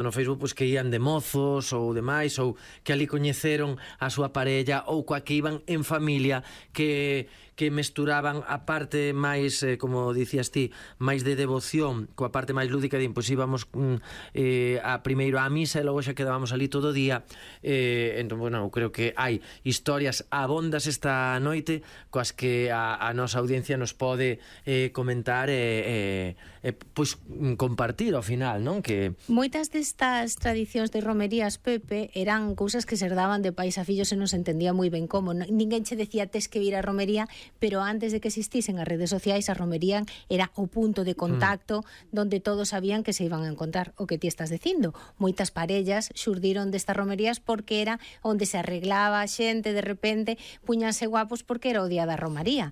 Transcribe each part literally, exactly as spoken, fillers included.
no Facebook pois que ían de mozos ou demais, ou que ali coñeceron a súa parella, ou coa que iban en familia, que que mesturaban a parte máis, eh, como dicías ti, máis de devoción coa parte máis lúdica, din, pois íbamos mm, eh, a primeiro á misa e logo xa quedábamos ali todo o día. Eh, entón, bueno, creo que hai historias abondas esta noite coas que a, a nosa audiencia nos pode eh, comentar e eh, eh, pois compartir ao final, non? Que moitas destas tradicións de romerías, Pepe, eran cousas que se herdaban de pais a fillos e non se entendía moi ben como. Ninguén che decía tes que vir a romería, pero antes de que existisen as redes sociais, a romería era o punto de contacto mm. donde todos sabían que se iban a encontrar. O que ti estás dicindo, moitas parellas xurdiron destas romerías porque era onde se arreglaba a xente, de repente puñanse guapos porque era o día da romaría.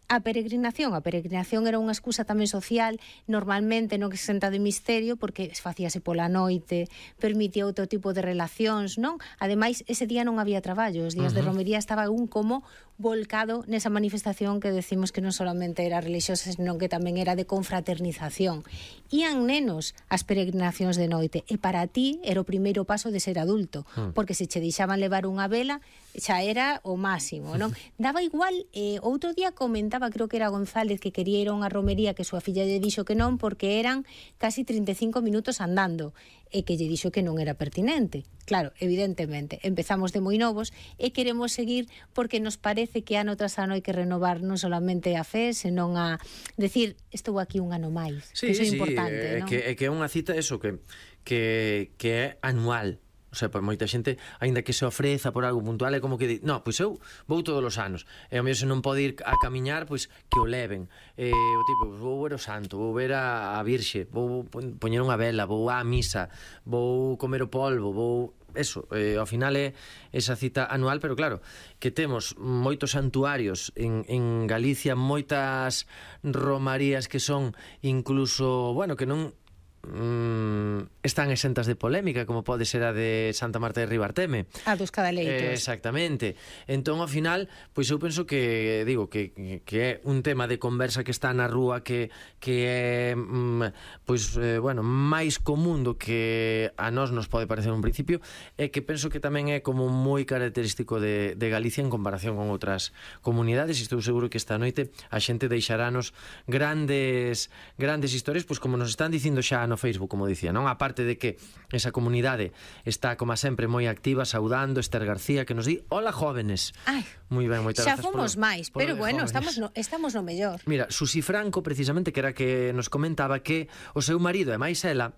A peregrinación, a peregrinación era unha excusa tamén social, normalmente non exenta de misterio, porque facíase pola noite, permitía outro tipo de relacións, non? Ademais, ese día non había traballo, os días uh-huh. de romería estaba un como volcado nesa manifestación que decimos que non solamente era religiosa, senón que tamén era de confraternización. Ían nenos as peregrinacións de noite, e para ti era o primeiro paso de ser adulto, uh-huh. porque se che deixaban levar unha vela, xa era o máximo, non? Daba igual, eh, outro día comentaba, creo que era González, que quería ir a unha romería que súa filla lle dixo que non, porque eran casi trinta e cinco minutos andando, e que lle dixo que non era pertinente. Claro, evidentemente, empezamos de moi novos e queremos seguir porque nos parece que ano tras ano hai que renovar non solamente a fe, senón a decir, estou aquí un ano máis. Sí, que iso é sí, importante, é non? que, é que é unha cita eso que, que, que é anual. O sea, por moita xente, aínda que se ofreza por algo puntual, é como que di, no, pois eu vou todos os anos, e ao mellor se non pode ir a camiñar, pois que o leven. Eh, o tipo, vou ver o santo, vou ver a, a Virxe, vou poñer unha vela, vou á misa, vou comer o polvo, vou... Eso, eh, ao final é esa cita anual, pero claro, que temos moitos santuarios en, en Galicia, moitas romarías que son incluso, bueno, que non mm, están exentas de polémica, como pode ser a de Santa Marta de Ribarteme. A dos Cadaleitos. Eh, exactamente. Entón, ao final, pois eu penso que, digo, que, que é un tema de conversa que está na rúa, que, que é, mm, pois, eh, bueno, máis común do que a nós nos pode parecer un principio, e que penso que tamén é como moi característico de, de Galicia en comparación con outras comunidades, e estou seguro que esta noite a xente deixarános grandes grandes historias, pois como nos están dicindo xa no Facebook, como dicía, non? A parte de que esa comunidade está, como sempre, moi activa, saudando. Esther García, que nos di, hola jóvenes. Ai, moi ben, moitas xa grazas fomos por, máis, por pero bueno, jóvenes. estamos no, estamos no mellor. Mira, Susi Franco, precisamente, que era que nos comentaba que o seu marido e máis ela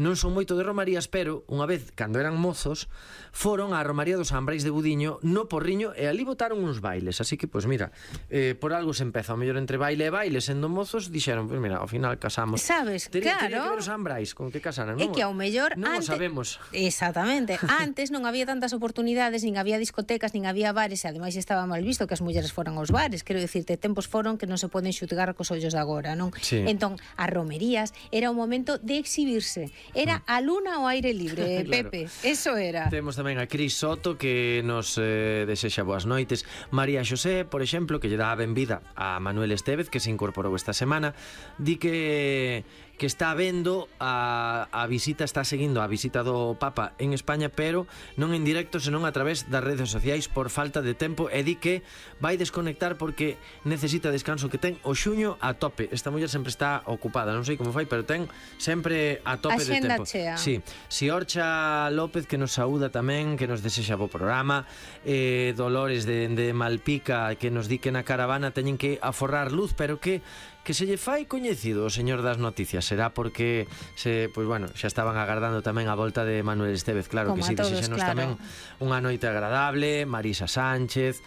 non son moito de romarías, pero unha vez, cando eran mozos, foron á romaría dos Ambrais de Budiño no Porriño, e ali botaron uns bailes. Así que, pois mira, eh, por algo se empeza, ao mellor entre baile e baile, sendo mozos, dixeron, pois mira, ao final casamos. Sabes, Tería, claro. Tería que ver os Ambrais, con que casaran, non? É que ao mellor non antes... o sabemos. Exactamente. Antes non había tantas oportunidades, nin había discotecas, nin había bares, e ademais estaba mal visto que as mulleres foran aos bares. Quero dicirte, tempos foron que non se poden xutgar cos ollos de agora, non? Sí. Entón, as romerías era o momento de exhibirse. Era a luna ao aire libre, claro. Pepe. Eso era. Temos tamén a Cris Soto, que nos eh, desexa boas noites. María Xosé, por exemplo, que lle dá a benvida a Manuel Estévez, que se incorporou esta semana, di que que está vendo a, a visita, está seguindo a visita do Papa en España, pero non en directo, senón a través das redes sociais por falta de tempo, e di que vai desconectar porque necesita descanso, que ten o xuño a tope. Esta muller sempre está ocupada, non sei como fai, pero ten sempre a tope de tempo. Chea. Sí. Si Orcha López, que nos saúda tamén, que nos desexa bo programa, eh, Dolores de, de Malpica, que nos di que na caravana teñen que aforrar luz, pero que que se lle fai coñecido o señor das noticias. Será porque se, pois bueno, xa estaban agardando tamén a volta de Manuel Estévez. Claro como que si, sí, desexanos claro. tamén unha noite agradable. Marisa Sánchez,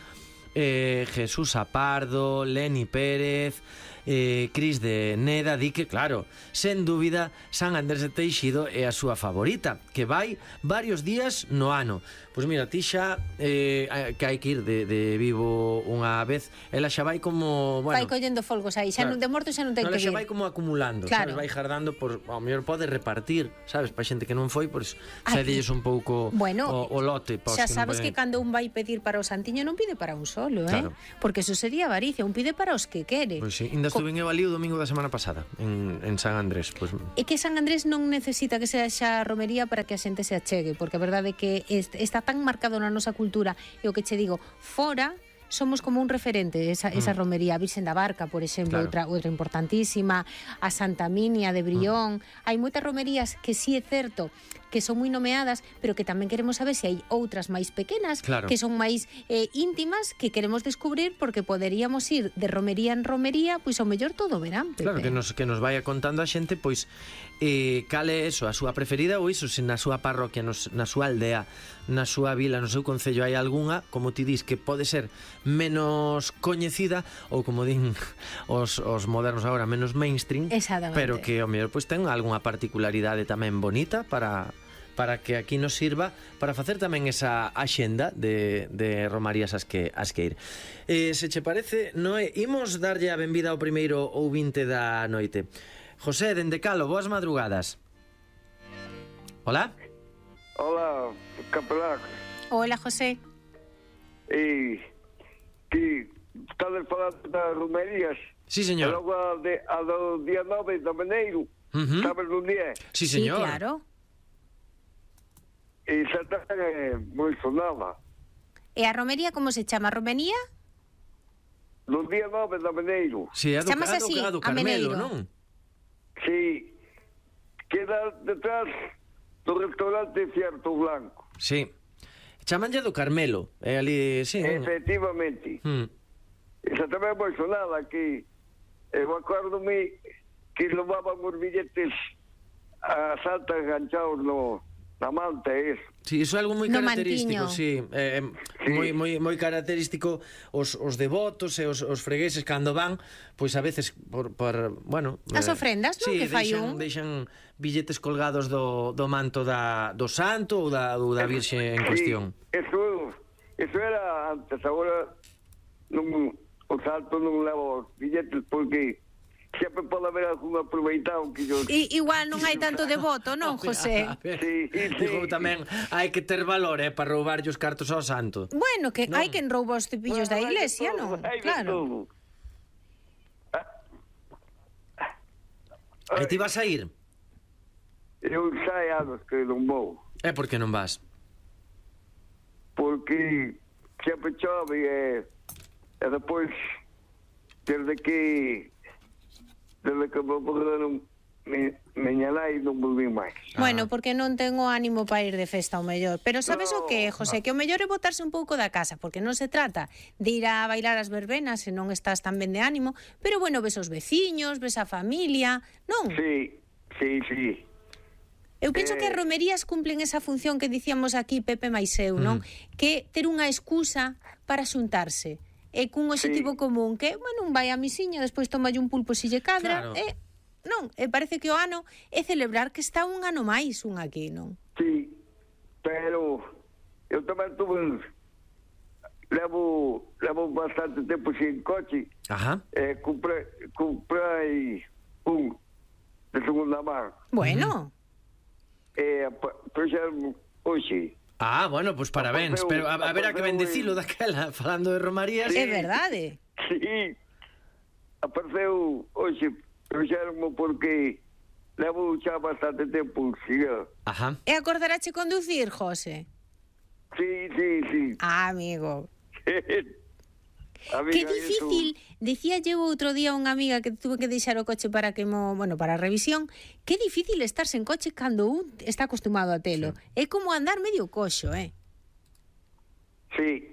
eh, Jesús Apardo, Leni Pérez, eh, Cris de Neda, di que, claro, sen dúbida, San Andrés de Teixido é a súa favorita, que vai varios días no ano. Pois mira, ti xa eh, que hai que ir de, de Vigo unha vez, ela xa vai como, bueno, vai collendo folgos aí, xa claro, non de morto xa non ten no, que xa ir. vai como acumulando, claro. Sabes, vai jardando por, ao mellor pode repartir, sabes, para xente que non foi, pois xa dilles un pouco bueno, o, o lote, pois, xa que sabes pueden... que cando un vai pedir para o santiño non pide para un solo, claro. eh? Porque eso sería avaricia, un pide para os que quere. Pois sí, ainda estuve eu ali o domingo da semana pasada, en, en San Andrés. Pues... É que San Andrés non necesita que sea xa romería para que a xente se achegue, porque a verdade é que está tan marcado na nosa cultura, e o que che digo, fora somos como un referente esa, esa mm. romería. A Virxen da Barca, por exemplo, claro. outra, outra importantísima, a Santa Minia de Brión. Mm. Hai moitas romerías que sí é certo que son moi nomeadas, pero que tamén queremos saber se hai outras máis pequenas, claro. que son máis eh, íntimas, que queremos descubrir, porque poderíamos ir de romería en romería, pois ao mellor todo o verán, Pepe. Claro, que nos, que nos vaya contando a xente, pois, eh, cal é eso, a súa preferida, ou iso, se na súa parroquia, nos, na súa aldea, na súa vila, no seu concello hai algunha, como ti dis, que pode ser menos coñecida, ou como din os, os modernos agora, menos mainstream, pero que ao mellor pois ten algunha particularidade tamén bonita para... para que aquí nos sirva para facer tamén esa axenda de, de romarías as que, as que ir. Eh, se che parece, Noé, imos darlle a benvida ao primeiro ouvinte da noite. José, dende Calo, boas madrugadas. Hola. Hola, capelán. Hola, José. E que estades falando das romerías? Sí, señor. E logo a, de, a do día nove de Meneiro, uh-huh. sabes un día? Sí, señor. Sí, claro. E xa tamén é moi sonada. E a romería como se chama? Romería? No día nove de Meneiro. Sí, é do, Chamas a do, así, a do a Carmelo, Meneiro. non? Sí, queda detrás do restaurante Cierto Blanco. Sí. Chamanlle do Carmelo. É ali, sí. Efectivamente. Mm. Esa tamén é moi sonada, que eu acordo-me que levaban os billetes a Santa enganchados no... na manta, é eso. Sí, iso é algo moi no característico, mantiño. sí, eh, Sí. moi, moi, moi característico os, os devotos e os, os fregueses cando van, pois a veces por, por bueno, As ofrendas, non? Sí, Que fai deixan, un. deixan billetes colgados do, do manto da, do santo ou da, ou da virxe en Sí, cuestión. eso, eso era antes, agora non, o santo non leva os billetes porque sempre pode haber algún aproveitado que yo... I, igual non hai tanto devoto, non, José? A ver, Sí, sí. digo, tamén hai que ter valor, eh, para roubarlle os cartos ao santo. Bueno, que Non. hai quen rouba os cepillos da iglesia, non? Claro. E ti vas a ir? Eu xa hai anos que non vou, É porque non vas? porque sempre chove e, e depois, desde que desde que me morreron me, meña nai non volví máis. Bueno, porque non tengo ánimo para ir de festa ao mellor. Pero sabes o No, que, José? Que o mellor é botarse un pouco da casa, porque non se trata de ir a bailar as verbenas se non estás tan ben de ánimo, pero bueno, ves os veciños, ves a familia, non? Sí, sí, sí. Eu penso Eh. que as romerías cumplen esa función que dicíamos aquí Pepe máis eu, non? Que ter unha excusa para xuntarse. E cun objetivo Sí. común, que, bueno, un vai a misiña, despois tomalle un pulpo se lle cadra, Claro. e, non, e parece que o ano é celebrar que está un ano máis un aquí, non? Sí, pero eu tamén tuve levo levo bastante tempo sin coche. Ajá. Eh, comprei comprei un de segunda mão. Bueno, E pa- puxeron hoxe. Ah, bueno, pois pues parabéns, Apareceu- pero a, a ver a que ben apareceu dicilo daquela, falando de romarías. é verdade. Sí, apareceu hoxe, puxeronmo porque levo xa bastante tempo sin el. Ajá. E acordarache conducir, José? Sí, sí, sí. Ah, amigo. Amiga, Que difícil, decía eu outro día a unha amiga que tuve que deixar o coche para que mo, bueno, para a revisión, que difícil estar sen coche cando un está acostumado a telo. Sí. É como andar medio coxo, eh? Sí.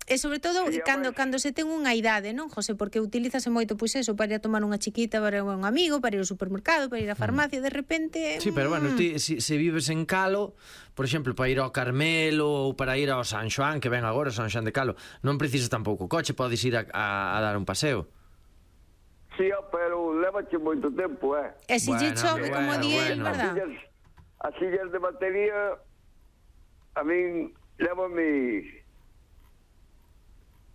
E sobre todo Sí, cando ademais- cando se ten unha idade, non, José? Porque utilízase moito pois eso para ir a tomar unha chiquita para un amigo, para ir ao supermercado, para ir á farmacia, de repente... Sí, pero bueno, mm, ti, si, se vives en Calo, por exemplo, para ir ao Carmelo ou para ir ao San Xoán, que ven agora, San Xoán de Calo, non precisas tampouco coche, podes ir a, a, a dar un paseo. Sí, pero levache moito tempo, eh? E se lle Bueno, chove, bueno, como di el, bueno. verdad? As sillas, as sillas de batería a min lévame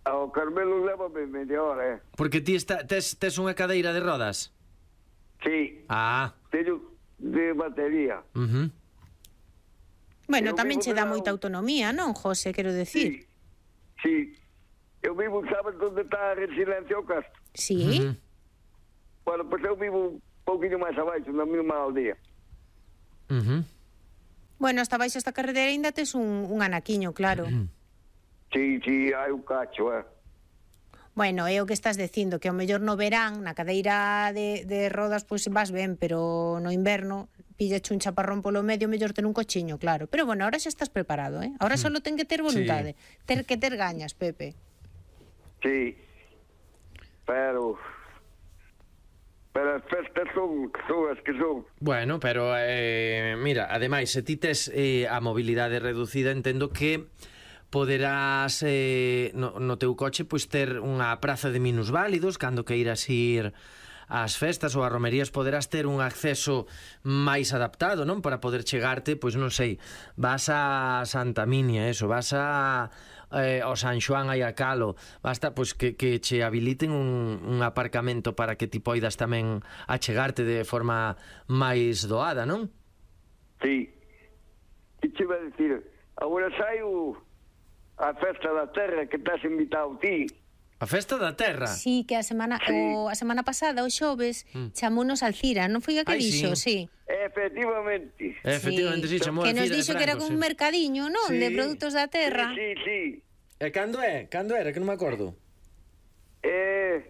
ao Carmelo lévame media hora, eh? Porque ti está, tes, tes unha cadeira de rodas. Sí, Ah, teño de batería. uh -huh. Bueno, Eu tamén vivo che dá de moita lado. autonomía, non, José, quero decir? Sí, sí. Eu vivo, sabes onde está a Residencia ao Castro? Sí. Uh -huh. Bueno, pois eu vivo un pouquinho máis abaixo, na mesma aldea. Uh -huh. Bueno, hasta baixo esta carretera ainda tes un, un anaquiño, claro. Sí, sí, hai un cacho, eh. Bueno, é o que estás dicindo, que ao mellor no verán, na cadeira de, de rodas, pois vas ben, pero no inverno pillache un chaparrón polo medio, mellor ten un cochiño, claro. Pero bueno, ahora xa estás preparado, eh? Ahora só ten que ter voluntade, sí. ter que ter gañas, Pepe. Sí, pero... Pero as festas son, son as que son. Bueno, pero, eh, mira, ademais, se ti tes eh, a mobilidade reducida, entendo que poderás eh, no, no teu coche pois ter unha praza de minusválidos cando queiras ir ás festas ou ás romerías, poderás ter un acceso máis adaptado, non? Para poder chegarte, pois non sei, vas a Santa Minia, eso, vas a eh, ao San Xoán aí a Calo, basta pois que, que che habiliten un, un aparcamento para que ti poidas tamén achegarte de forma máis doada, non? Sí. E che iba a dicir, agora sai o, a festa da terra que estás invitado ti. A festa da terra? Sí, que a semana sí. o, a semana pasada, o xoves, mm. chamounos Alcira, non foi a que Ai, dixo? sí. Sí. Efectivamente. Efectivamente, sí, sí. chamou Que nos Alcira dixo de que era Franco, un sí. mercadiño, non? Sí. De produtos da terra. Sí, sí, sí. E cando é? Cando era? Que non me acordo. Eh...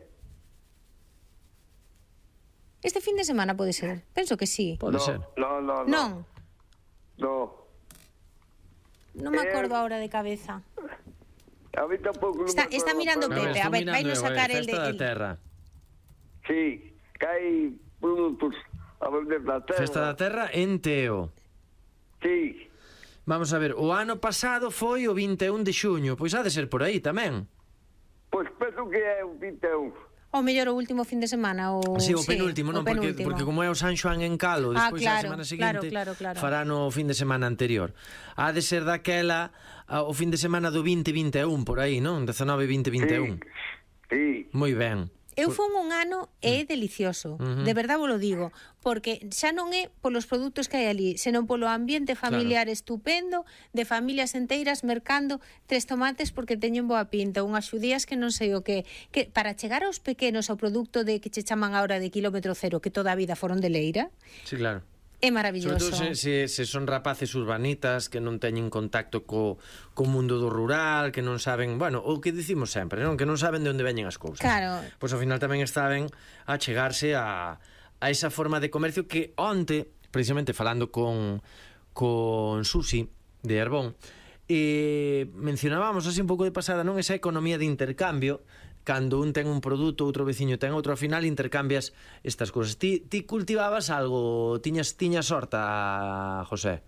Este fin de semana pode ser. Penso que sí. Pode no, ser. No, no, no. Non. No. Non me acordo Eh, ahora de cabeza. A mí tampouco non Está, me está acordo mirando para Pepe, nada. a ver, vai nos sacar el de... Festa da el- terra. Sí, que hai produtos a vender da terra. Festa da terra en Teo. Sí. Vamos a ver, o ano pasado foi o vinte e un de xuño, pois ha de ser por aí tamén. Pois penso que é o vinte e un. Ou mellor o último fin de semana o... Sí, o penúltimo, non, o porque, penúltimo. porque como é o San Xoán en Calo, Ah, despois claro, a semana claro, seguinte claro, claro. fará no fin de semana anterior. Ha de ser daquela a, o fin de semana do vinte vinte e un por aí, non? dezanove vinte vinte e un. Sí. Moi ben. Eu fun un ano e é delicioso, Uh-huh. de verdade vos lo digo, porque xa non é polos produtos que hai ali, senón polo ambiente familiar Claro. estupendo, de familias enteiras mercando tres tomates porque teñen boa pinta, unhas xudías que non sei o que, que para chegar aos pequenos ao produto de que che chaman agora de quilómetro cero, que toda a vida foron de leira, Sí, claro. é Sobre maravilloso. todo se, se, se son rapaces urbanitas que non teñen contacto co, co mundo do rural, que non saben, bueno, o que dicimos sempre, non? Que non saben de onde veñen as cousas. Claro. Pois ao final tamén estaben a chegarse a, a esa forma de comercio que onte, precisamente falando con, con Susi de Herbón, eh, mencionábamos así un pouco de pasada, non? Esa economía de intercambio, cando un ten un produto, outro veciño ten outro, ao final intercambias estas cousas. Ti, ti cultivabas algo, tiñas tiñas horta, José?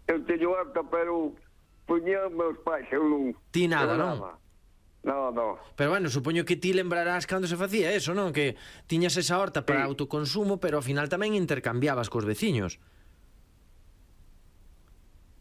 Eu teño horta, pero puñan meus pais, eu non... Ti nada, eu non? No, no. Pero bueno, supoño que ti lembrarás cando se facía eso, non? Que tiñas esa horta para Sí. autoconsumo, pero ao final tamén intercambiabas cos veciños.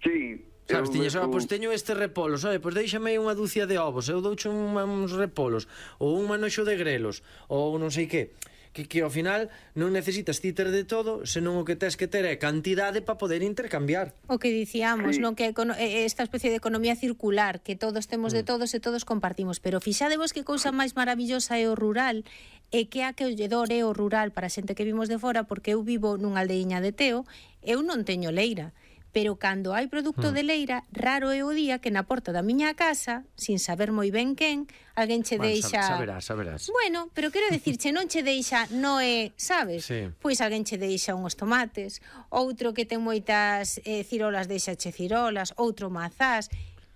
Sí. Sabes, eu tiñas, ah, mesmo- pois teño este repolo, sabe, pois déixame unha dúcia de ovos, eu douche un, uns repolos, ou un manoxo de grelos, ou non sei que, que, que ao final non necesitas ti ter de todo, senón o que tes que ter é cantidade para poder intercambiar. O que dicíamos, Sí. non, que econo- eh, esta especie de economía circular, que todos temos Mm. de todos e todos compartimos, pero fixadevos que cousa máis maravillosa é o rural, e que acolledor é o rural para a xente que vimos de fora, porque eu vivo nunha aldeiña de Teo, eu non teño leira, pero cando hai produto Mm. de leira, raro é o día que na porta da miña casa, sin saber moi ben quen, alguén che Bueno, deixa... saberás, saberás. Bueno, pero quero dicirche, non che deixa Noé, sabes? Sí. Pois alguén che deixa uns tomates, outro que ten moitas eh, cirolas deixa che cirolas, outro mazás,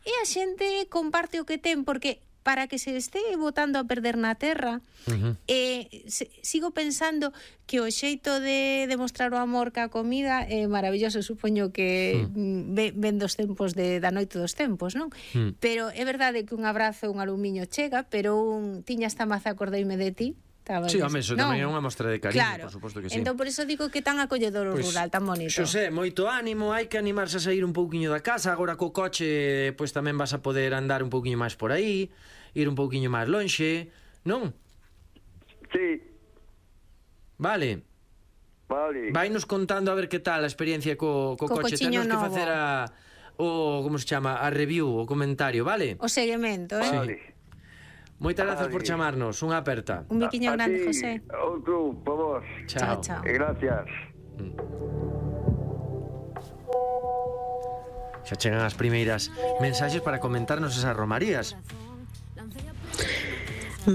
e a xente comparte o que ten, porque para que se este botando a perder na terra, Uh-huh. eh, se, sigo pensando que o xeito de demostrar o amor ca comida é maravilloso, supoño que mm. ven, ven dos tempos de, da noite dos tempos, non? Mm. Pero é verdade que un abrazo, un alumiño chega, pero un tiña esta maza, acordeime de ti. Estaba Sí, des- home, eso non? tamén é unha mostra de cariño, Claro. por suposto que sí. Entón, por eso digo que tan acolledor o Pois, rural, tan bonito. Xosé, moito ánimo, hai que animarse a sair un pouquiño da casa, agora co coche pois tamén vas a poder andar un pouquiño máis por aí, ir un pouquiño máis lonxe, non? Sí, Vale. vale. Vainos contando a ver que tal a experiencia co, co, Co coche. cochiño Temos que novo. facer a o como se chama, a review, o comentario, vale? O seguimento, eh? Vale. Moitas grazas por Adi. chamarnos, unha aperta. Un biquiño A grande, ti, José. outro, por vos. Chao, chao. E gracias. Xa chegan as primeiras mensaxes para comentarnos esas romarías.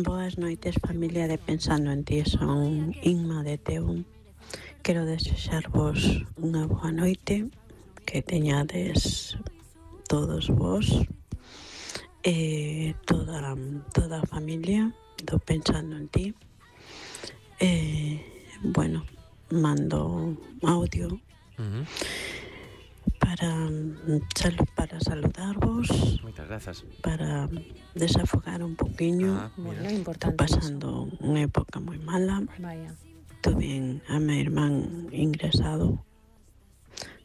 Boas noites, familia de Pensando en Ti. Son Inma de Teu. Quero desexarvos unha boa noite, que teñades todos vos e toda, toda a familia do Pensando en Ti. E, bueno, mando audio Uh-huh. para, para saludarvos, Moitas grazas. para desafogar un poquinho. Ah, Bueno, mira. importante. Estou pasando unha época moi mala. Vaya. Tuve a mi irmán ingresado.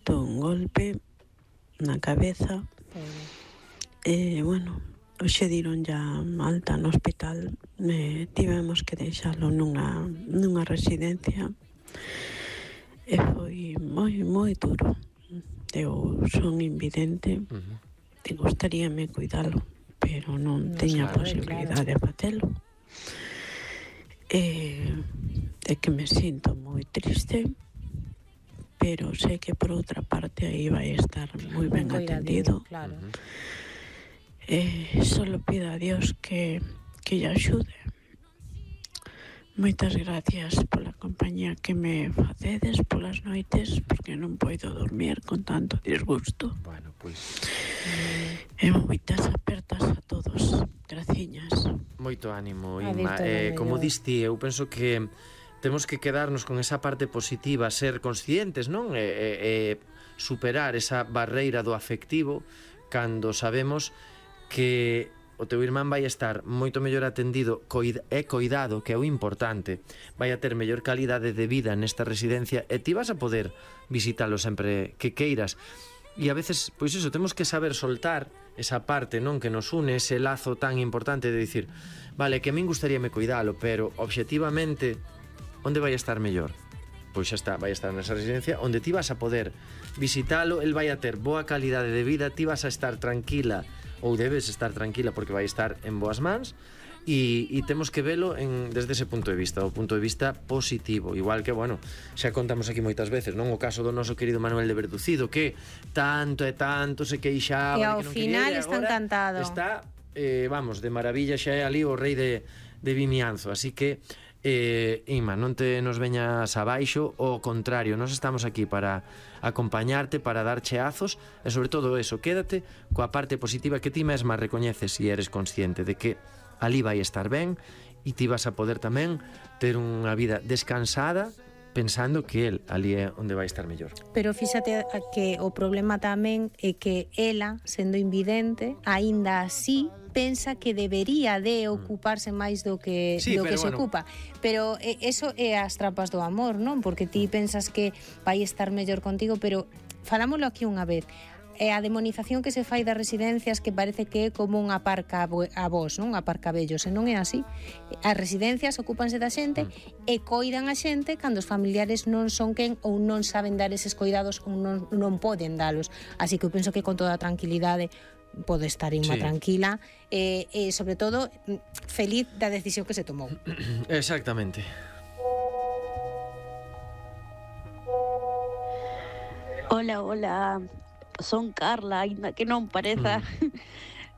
Tuve un golpe na cabeza. E, bueno, hoxe diron ya alta no hospital. E tivemos que deixalo nunha, nunha residencia. E foi moi, moi duro. Eu son invidente. Uh-huh. Te gustaríame cuidalo, pero non No, teña claro, posibilidade de facelo. E é que me sinto moi triste, pero sei que por outra parte aí vai estar moi ben atendido. Claro. Uh-huh. E solo pido a Dios que, que lle axude. Moitas gracias pola compañía que me facedes polas noites, porque non podo dormir con tanto disgusto. Bueno, pois E moitas apertas a todos. Graciñas. moito ánimo, A Inma. ver, todo Eh, como mellor. diste, eu penso que temos que quedarnos con esa parte positiva, ser conscientes, non? E, e, e superar esa barreira do afectivo cando sabemos que o teu irmán vai estar moito mellor atendido e coidado, que é o importante. Vai a ter mellor calidade de vida nesta residencia e ti vas a poder visitalo sempre que queiras. E a veces, pois iso, temos que saber soltar esa parte, non, que nos une, ese lazo tan importante de dicir, vale, que a min gustaríame cuidalo, pero obxectivamente onde vai a estar mellor? Pois xa está, vai a estar nesa residencia onde ti vas a poder visitalo, el vai a ter boa calidade de vida, ti vas a estar tranquila, ou debes estar tranquila porque vai estar en boas mans, e, e temos que velo en, desde ese punto de vista, o punto de vista positivo, igual que, bueno, xa contamos aquí moitas veces, non, o caso do noso querido Manuel de Verducido, que tanto e tanto se queixaba E de ao que non final quería, e está agora encantado. está, eh, vamos, de maravilla, xa é ali o rei de, de Vimianzo, así que Eh, Inma, non te nos veñas abaixo, ao contrario, nós estamos aquí para acompañarte, para dar cheazos e sobre todo eso, quédate coa parte positiva que ti mesma recoñeces e eres consciente de que ali vai estar ben e ti vas a poder tamén ter unha vida descansada pensando que el ali é onde vai estar mellor. Pero fíxate que o problema tamén é que ela, sendo invidente, aínda así pensa que debería de ocuparse máis do que Sí, do pero que se bueno. ocupa. Pero eh, eso é as trampas do amor, non? Porque ti pensas que vai estar mellor contigo, pero falámoslo aquí unha vez. É a demonización que se fai das residencias, que parece que é como unha parca a vos, non? A parca vellos, e non é así. As residencias ocúpanse da xente e coidan a xente cando os familiares non son quen ou non saben dar eses coidados ou non, non poden dalos. Así que eu penso que con toda a tranquilidade pode estar Inma Sí. tranquila e, e sobre todo feliz da decisión que se tomou. Exactamente. Hola, hola, son Carla, aínda que non pareza.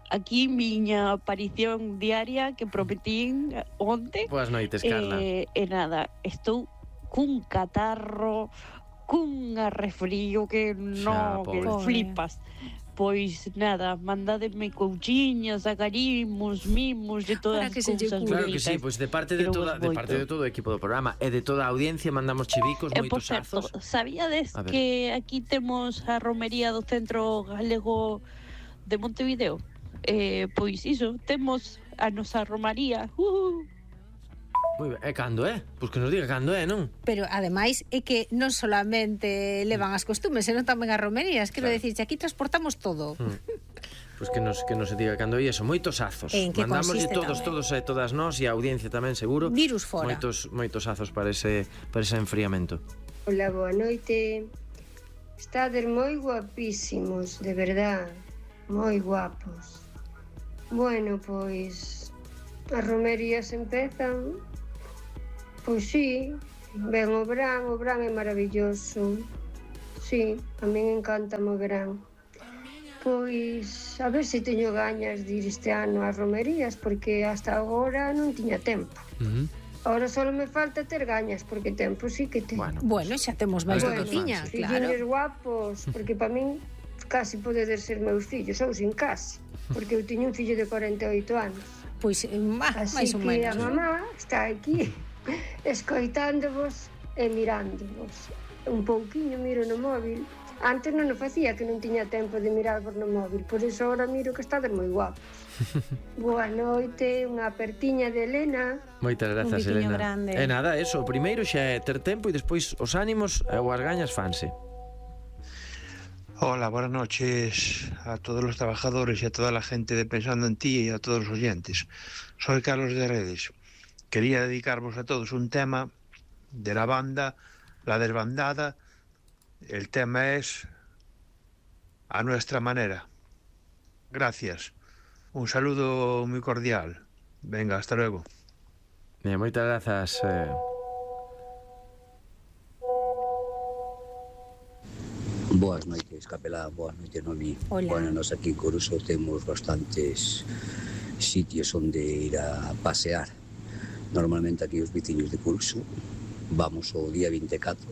Aquí miña aparición diaria que prometín onte. Boas noites, Carla. E, e nada, estou cun catarro, cun arrefrío que Xa, no, que pobre. flipas. Pois nada, mandádeme couchiñas, acarimos, mimos, de todas Para as que se lle cousas cure. Claro que sí, bonitas. pois de parte de Quero toda vos de parte de moito. todo o equipo do programa e de toda a audiencia mandamos chivicos, E por moitos certo, azos. sabíades A ver. que aquí temos a romería do Centro Galego de Montevideo? Eh, pois iso, temos a nosa romaría. Uh! Moi ben. E cando é? Pois que nos diga cando é, non? Pero ademais é que non solamente levan as costumes, senón tamén as romerías. Quero Claro. decir, aquí transportamos todo. Pois que nos que nos diga cando é eso, moitos azos. En que Mandámoslle consiste todos, tamén? todos e todas nós e a audiencia tamén seguro. Virus fora. Moitos moitos azos para ese para ese enfriamento. Hola, boa noite. Estades moi guapísimos, de verdad. Moi guapos. Bueno, pois as romerías empezan, pois sí, ven o verán, o verán é maravilloso. Sí, a min encanta o verán. Pois, a ver se teño gañas de ir este ano ás romerías, porque hasta agora non tiña tempo. Uh-huh. Ahora só me falta ter gañas, porque tempo sí que teño. Bueno, Bueno, xa temos máis do Bueno, que tiña, claro. Filliños guapos, porque para min casi podedes ser meus fillos, ou sin casi, porque eu tiño un fillo de corenta e oito anos. Pois, eh, ah, Así máis ou que menos. a mamá está aquí escoitándovos e mirándovos. Un pouquiño miro no móvil. Antes non o facía, que non tiña tempo de mirar por no móvil, por iso agora miro que estades moi guapos. Boa noite, unha apertiña de Elena. moitas grazas, Un biquiño Elena. grande. E nada, eso, o primeiro xa é ter tempo e despois os ánimos e as gañas fanse. Hola, buenas noches a todos los trabajadores y a toda la gente de Pensando en Ti y a todos los oyentes. Soy Carlos de Redes. Quería dedicarvos a todos un tema de la banda La Desbandada. El tema es A Nuestra Manera. Gracias. Un saludo muy cordial. Venga, hasta luego. Eh, moitas grazas. Eh... Boas noites, Capelán, boas noites, Noemí. Hola. Bueno, nos aquí en Coruso temos bastantes sitios onde ir a pasear. Normalmente aquí os veciños de Coruso vamos o día vinte e catro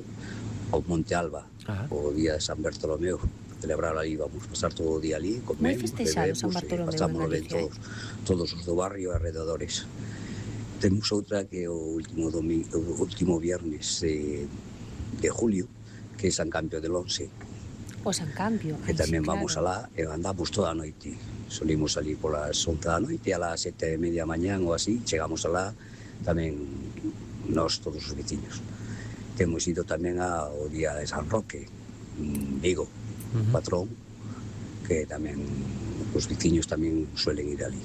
ao Monte Alba, Ajá. o día de San Bartolomeu, celebrar ali, vamos pasar todo o día ali, Moi comemos, festexado bebemos, San Bartolomeu e pasamos en ben Galicia, todos, todos os do barrio e arredores. Temos outra que é o último, domingo, o último viernes eh, de julio, que é San Campio del Once, O San Cambio. que Ai, tamén sí, vamos claro. alá e andamos toda a noite. Solimos salir polas once da noite, a las sete e media mañán ou así, chegamos alá tamén nós todos os veciños. Temos ido tamén ao día de San Roque, en Vigo, Uh-huh. patrón, que tamén os veciños tamén suelen ir ali.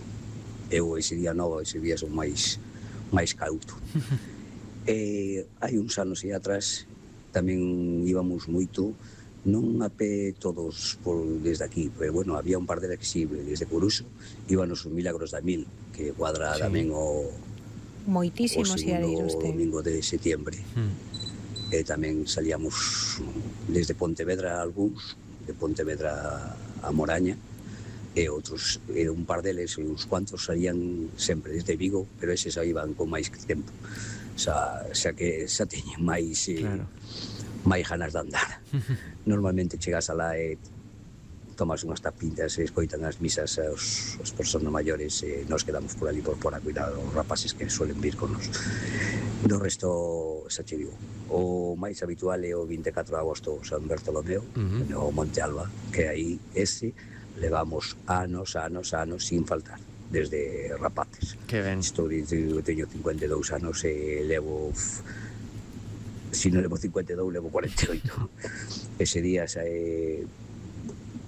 Eu ese día novo, ese día son máis máis cauto. E hai uns anos e atrás tamén íbamos moito, non a pé todos por desde aquí, pero bueno, había un par de que sí, desde Coruso íbanos os Milagros da Mil, que cuadra Sí. tamén o, o Moitísimos ia de ir segundo usted. domingo de setiembre. Mm. E tamén salíamos desde Pontevedra algúns, de Pontevedra a Moraña, e outros, e un par deles, e uns cuantos salían sempre desde Vigo, pero eses aí iban con máis tempo. Xa, xa que xa teñen máis eh, Claro. máis ganas de andar. Normalmente chegas alá e tomas unhas tapitas e escoitan as misas aos, as persoas maiores e nos quedamos por ali por por a cuidar os rapaces que suelen vir con nos. Do resto, xa che digo, o máis habitual é o vinte e catro de agosto San Bartolomeu, Uh-huh. no Monte Alba, que aí ese levamos anos, anos, anos sin faltar, desde rapaces. Que ben. Estou dicindo que teño cincuenta e dous anos e levo, se non levo cincuenta e dous, levo cuarenta e oito. Ese día xa é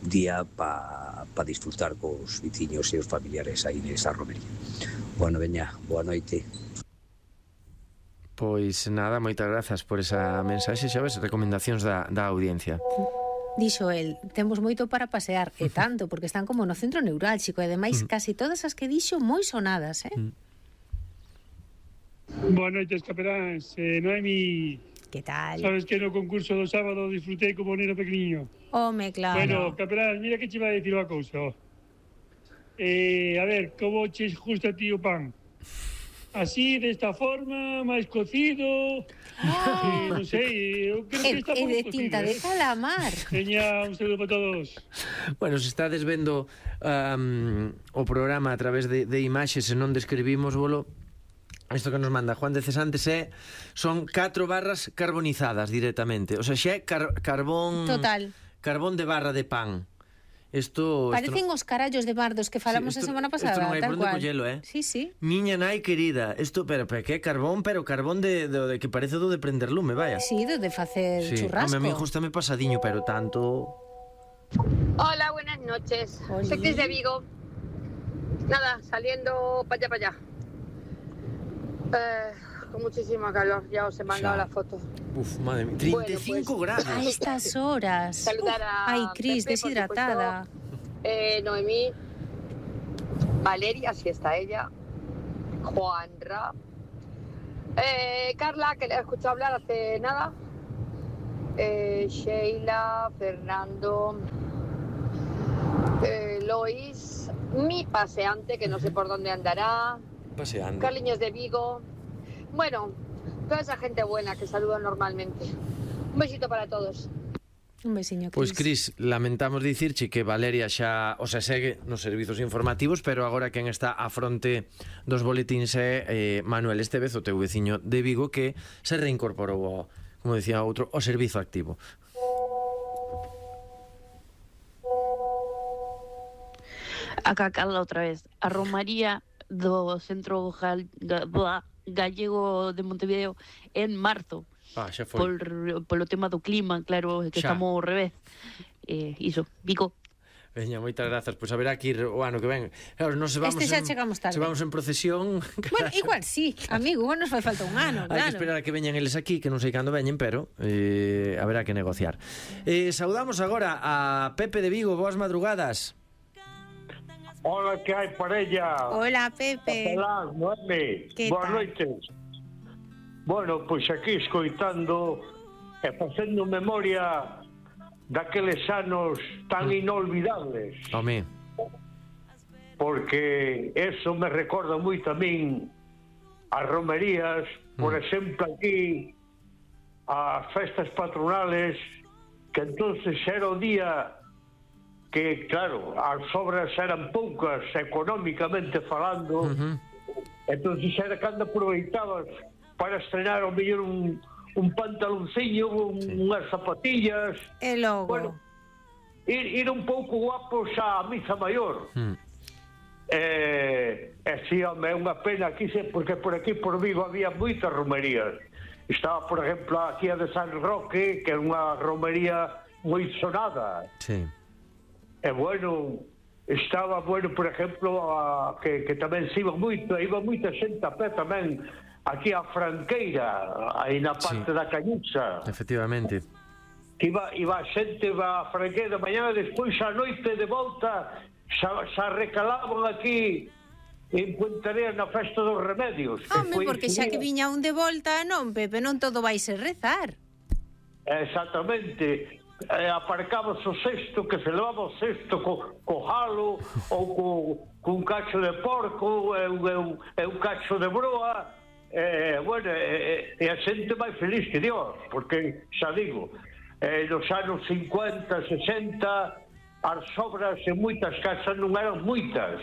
día pa, pa disfrutar cos veciños e os familiares aí nesa romería. Bueno, veña, boa noite. Pois nada, moitas grazas por esa mensaxe, xa ves, recomendacións da, da audiencia. Dixo el, temos moito para pasear, e tanto, porque están como no centro neurálxico, e ademais casi todas as que dixo moi sonadas, eh? Boas noites, capeláns. Eh, Noemi, Que tal? sabes que no concurso do sábado disfrutei como neno pequeniño. Home, claro. Bueno, capelán, mira que che vai a decir unha cousa. Eh, a ver, como che gusta a ti o pan? Así, desta forma, máis cocido... Eh, non sei, eu creo que E, está e pouco de cocido, tinta de eh? calamar. Veña, un saludo para todos. Bueno, se estades vendo um, o programa a través de, de imaxes e non describimos, bolo, isto que nos manda Juan de Cesantes é son catro barras carbonizadas directamente. O sea, xa é car carbón... Total. Carbón de barra de pan. Isto... Parecen os carallos de bardos que falamos Sí, a isto- semana isto pasada, non hai tal por onde cual. collelo, eh? Sí, sí. Miña nai querida, isto, pero, pero que é carbón, pero carbón de, de, de que parece do de prender lume, vaya. Sí, de, de facer Sí, churrasco. home, a mí gustame pasadiño, pero tanto... Hola, buenas noches. Oli. Soy Cris de Vigo. Nada, saliendo para allá, para allá. Eh, con muchísima calor, ya os he mandado Ya. la foto. Uf, madre mía, treinta e cinco Bueno, pues, grados. A estas horas. Saludar a Ay, Cris, Pepe, por deshidratada. supuesto, eh, Noemí, Valeria, si está ella, Juanra, eh, Carla, que le he escuchado hablar hace nada, eh, Sheila, Fernando, eh, Lois, mi paseante, que no sé por dónde andará, Paseando. Carliños de Vigo, bueno, toda esa gente buena que saludo normalmente. Un besito para todos. Un besiño, Cris. Pois, Cris, lamentamos dicirche que Valeria xa, o sea, segue nos servizos informativos, pero agora quen está á fronte dos boletíns é eh, Manuel Estevez, o teu veciño de Vigo, que se reincorporou, ao, como decía outro, ao servizo activo. Acá Carla outra vez. A Romaría do Centro Gal, Ga, Gallego de Montevideo en marzo. Ah, xa foi. Por, polo tema do clima, claro, que Xa. estamos ao revés. Eh, iso, Vigo. Veña, moitas grazas. Pois haberá que ir o ano que ven. Claro, nos se vamos Este xa en, chegamos tarde. se vamos en procesión. Bueno, igual sí, amigo, igual nos fai falta un ano, Hai que claro. esperar a que veñan eles aquí, que non sei cando veñen, pero eh, haberá que negociar. Eh, saudamos agora a Pepe de Vigo. Boas madrugadas. Hola, que hai parella? Hola, Pepe. Hola, Noemi. Que Boas tal? noites. Bueno, pois aquí escoitando e facendo memoria daqueles anos tan inolvidables, Home, porque eso me recorda moito a min as romerías, por exemplo aquí as festas patronales, que entonces era o día que, claro, as obras eran poucas económicamente falando, uh-huh. entonces era cando aproveitabas para estrenar ao mellor un, un pantalonciño, un, Sí. unhas zapatillas, E logo. bueno, ir, ir un pouco guapos á misa maior. Mm. Eh, e si, home, é unha pena aquí, se- porque por aquí por Vigo había moitas romerías. Estaba, por exemplo, aquí a de San Roque, que é unha romería moi sonada. sí. E bueno, estaba, bueno, por exemplo, a, que, que tamén se iba moito, iba moita xente a pé tamén, aquí a Franqueira, aí na parte Sí. da Cañucha, Efectivamente. que iba, iba a xente, iba a Franqueira de mañana, despois a noite de volta, xa, xa recalaban aquí en Puentarea na festa dos remedios. que Home, foi porque ese xa que día. viña un de volta, non, Pepe, non todo vai ser rezar. Exactamente. Eh, aparcabas o cesto, que se levaba o cesto co, co jalo ou co, cun cacho de porco e un, e un, e un cacho de broa, eh, bueno, e, e a xente máis feliz que Dios, porque xa digo, eh, nos anos cincuenta, sesenta as obras en moitas casas non eran moitas,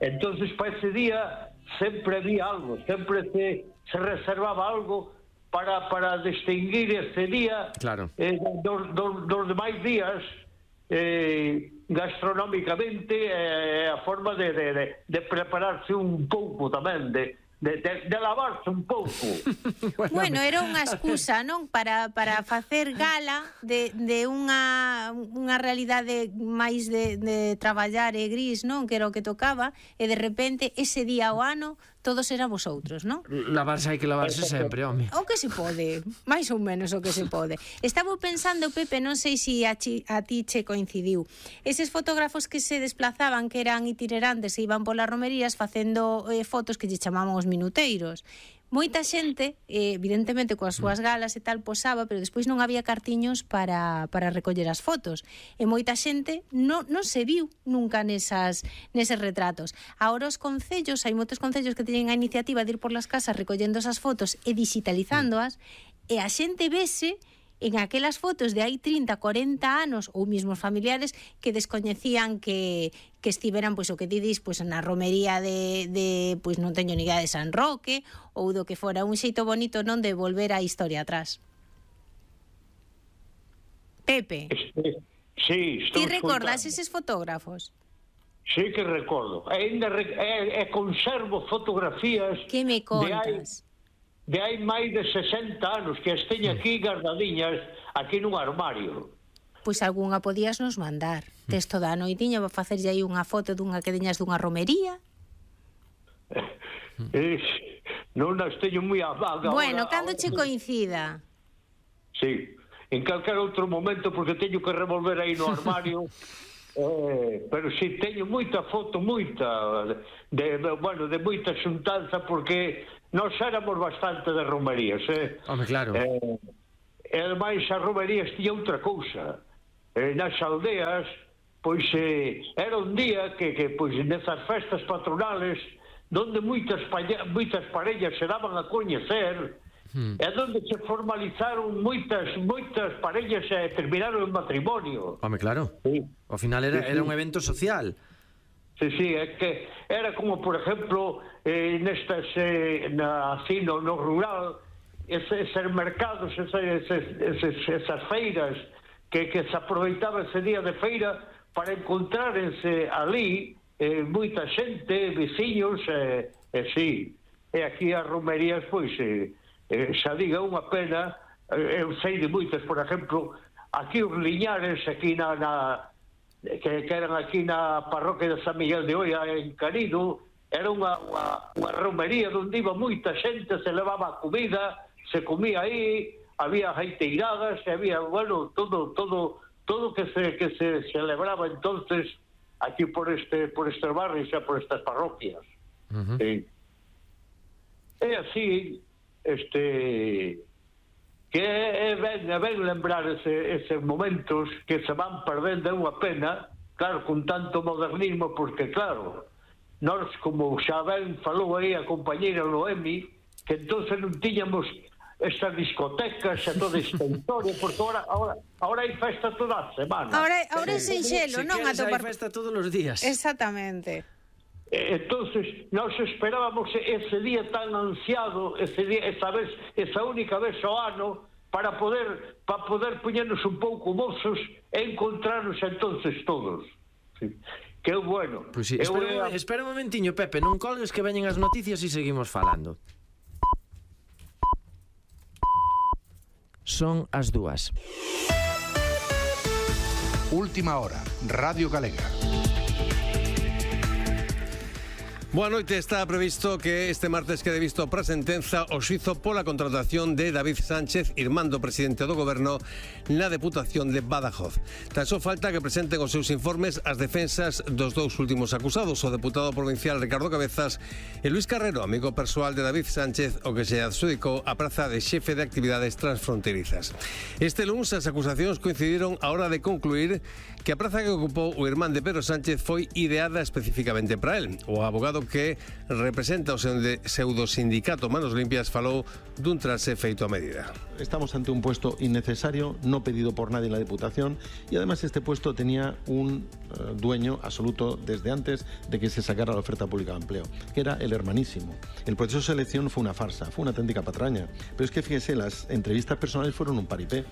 entonces para ese día sempre había algo, sempre se, se reservaba algo para, para distinguir ese día Claro. eh, dos, dos, dos demais días eh, gastronómicamente, eh, a forma de, de, de, de prepararse un pouco tamén, de, de, de, de lavarse un pouco. Bueno, era unha excusa, non? Para, para facer gala de, de unha, unha realidade máis de, de traballar e gris, non? Que era o que tocaba, e de repente, ese día ao ano, todos eran vosotros, non? Lavarse hai que lavarse sempre, home. O que se pode, máis ou menos o que se pode. Estaba pensando, Pepe, non sei se a, chi, a ti che coincidiu. Eses fotógrafos que se desplazaban, que eran itinerantes e iban polas romerías facendo eh, fotos que lle chamaban os minuteiros. Moita xente, eh, evidentemente coas súas galas e tal, posaba, pero despois non había cartiños para, para recoller as fotos. E moita xente non, non se viu nunca nesas, neses retratos. Ahora os concellos, hai moitos concellos que teñen a iniciativa de ir por las casas recollendo esas fotos e digitalizándoas, e a xente vese en aquelas fotos de hai trinta, corenta anos ou mismos familiares que descoñecían que, que estiveran, pois o que ti dis, pois na romería de, de pois non teño ni idea de San Roque, ou do que fora un xeito bonito, non, de volver a historia atrás. Pepe, Este, sí, estou ti recordas escoitando. eses fotógrafos? Sí que recordo. E, ainda re, e, e conservo fotografías Que me de hai, contas? de hai máis de sesenta anos que as teño aquí guardadiñas aquí nun armario. Pois algunha podías nos mandar. Tes toda a noitiña para facerlle aí unha foto dunha que deñas dunha romería. Eh, non as teño moi a vaga. Bueno, ahora, cando ahora, che coincida. Sí, en calquer outro momento, porque teño que revolver aí no armario Eh, pero si teño moita foto, moita, de, de, bueno, de moita xuntanza, porque nós éramos bastante de romerías, eh? Home, claro. Eh, e ademais as romerías tiña outra cousa. Eh, nas aldeas, pois eh, era un día que, que pois nesas festas patronales, donde moitas, moitas parellas se daban a coñecer, Hmm. é onde se formalizaron moitas moitas parellas e terminaron en matrimonio. Home, claro. Sí. Ao final era, Sí, sí. era un evento social. Sí, sí, é que era como, por exemplo, eh, nestas, eh, na, así, no, no rural, esos, esos mercados, esos, esos, esas feiras, que, que se aproveitaba ese día de feira para encontrárense ali eh, moita xente, veciños, e eh, eh, sí. E aquí as romerías, pois... Eh, Eh, xa diga unha pena, eh, eu sei de moitas, por exemplo, aquí os Liñares, aquí na, na que, que eran aquí na parroquia de San Miguel de Oia, en Canido, era unha, unha, unha romería onde iba moita xente, se levaba comida, se comía aí, había jaiteiradas, había, bueno, todo todo todo que se que se celebraba entonces aquí por este por estes barrios e por estas parroquias. Uh-huh. Sí. E así, este, que é ben, é ben lembrar ese, eses momentos que se van perdendo, é unha pena, claro, con tanto modernismo, porque claro, nós, como xa ben falou aí a compañeira Noemi, que entonces non tiñamos estas discotecas e toda esta historia, porque ahora, ahora, ahora hai festa toda a semana. Ahora, ahora é sinxelo, Se non? queres, Atopar... hai festa todos os días. Exactamente. Entonces, nós esperábamos ese día tan ansiado, ese día, esa vez, esa única vez ao ano, para poder para poder poñernos un pouco mozos e encontrarnos entonces todos. Sí. Que é bueno. Pois pues sí, espera, eu... espera un momentiño, Pepe, non colgues que veñen as noticias e seguimos falando. Son as dúas. Última hora, Radio Galega. Boa noite, está previsto que este martes quede visto para sentenza o xuizo pola contratación de David Sánchez, irmán do presidente do goberno, na Deputación de Badajoz. Tan só falta que presenten os seus informes as defensas dos dous últimos acusados, o deputado provincial Ricardo Cabezas e Luis Carrero, amigo persoal de David Sánchez, o que se adxudicou a praza de xefe de actividades transfronterizas. Este luns as acusacións coincidiron a hora de concluir que a praza que ocupou o irmán de Pedro Sánchez foi ideada especificamente para él. O abogado que representa o pseudosindicato Manos Limpias falou dun trase feito a medida. Estamos ante un puesto innecesario, no pedido por nadie en la Diputación, y además este puesto tenía un uh, dueño absoluto desde antes de que se sacara la oferta pública de empleo, que era el hermanísimo. El proceso de selección fue una farsa, fue una auténtica patraña, pero es que fíjese, las entrevistas personales fueron un paripé.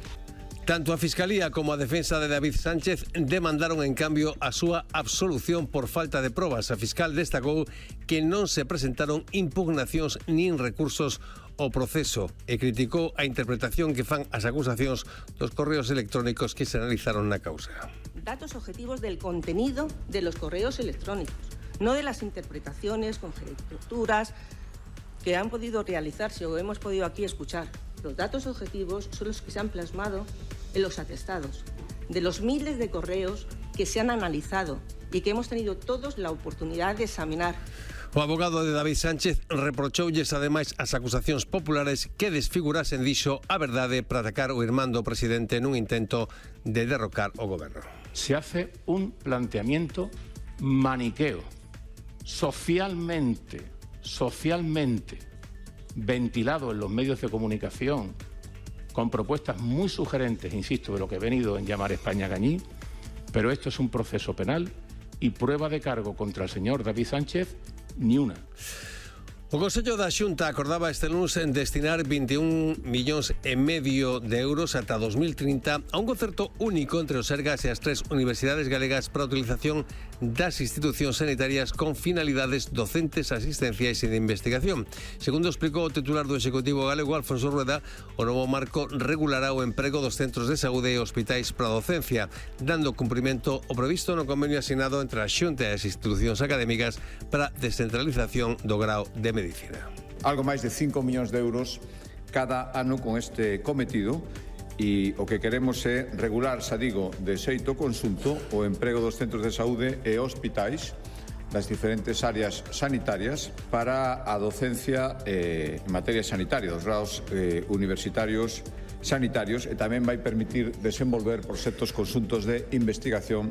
Tanto a Fiscalía como a defensa de David Sánchez demandaron en cambio a súa absolución por falta de probas. A fiscal destacou que non se presentaron impugnacións nin recursos ao proceso e criticou a interpretación que fan as acusacións dos correos electrónicos que se analizaron na causa. Datos objetivos del contenido de los correos electrónicos, no de las interpretaciones, conjeturas que han podido realizarse o hemos podido aquí escuchar. Los datos objetivos son los que se han plasmado en los atestados de los miles de correos que se han analizado y que hemos tenido todos la oportunidad de examinar. O abogado de David Sánchez reprochoulles ademais as acusacións populares que desfigurasen, dixo, a verdade para atacar o irmán do presidente nun intento de derrocar o goberno. Se hace un planteamiento maniqueo, socialmente, socialmente ventilado en los medios de comunicación, con propuestas muy sugerentes, insisto, de lo que he venido en llamar España Gañí, pero esto es un proceso penal y prueba de cargo contra el señor David Sánchez, ni una. O Consello da Xunta acordaba este lunes en destinar veintiún millóns e medio de euros ata dos mil trinta a un concerto único entre os Sergas e as tres universidades galegas para a utilización das institucións sanitarias con finalidades docentes, asistenciais e de investigación. Segundo explicou o titular do Executivo galego, Alfonso Rueda, o novo marco regulará o emprego dos centros de saúde e hospitais para a docencia, dando cumprimento ao previsto no convenio asinado entre a Xunta e as institucións académicas para a descentralización do grao de medicina. Algo máis de cinco millóns de euros cada ano con este cometido e o que queremos é regular, xa digo, de xeito conxunto o emprego dos centros de saúde e hospitais das diferentes áreas sanitarias para a docencia eh, en materia sanitaria, dos grados eh, universitarios sanitarios, e tamén vai permitir desenvolver proxectos conxuntos de investigación